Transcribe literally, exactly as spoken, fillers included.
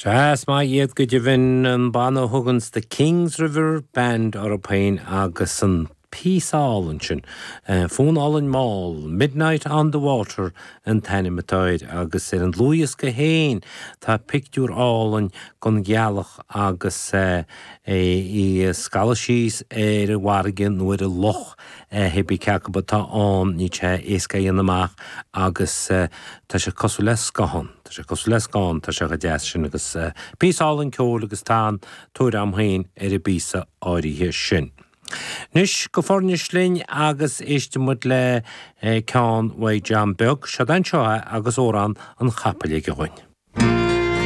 Sea, is maith iad go deimhin an banna a thuganns The Kings River Band orthu féin agus an píosa álainn sin, fonn álainn mall, Midnight on the Water an t-ainm atá air agus ar an dlúthdhiosca féin tá pictiúr álainn den ghealach agus é ag scalladh síos ar an bhfarraige nó ar an loch hébrí cé acu atá ann, níl sé éasca a dhéanamh amach agus tá sé cosúil le scáthán. Tá sé cosúil le scáthán, tá sé chomh deas sin agus píosa álainn ceoil agus tá an-tóir agam féin ar an bpíosa áirithe sin. Anois go Foirnis linn agus éistfidh muid le ceann uaidh John Beag, seod anseo é agus Amhrán an Chapaill aige dhúinn.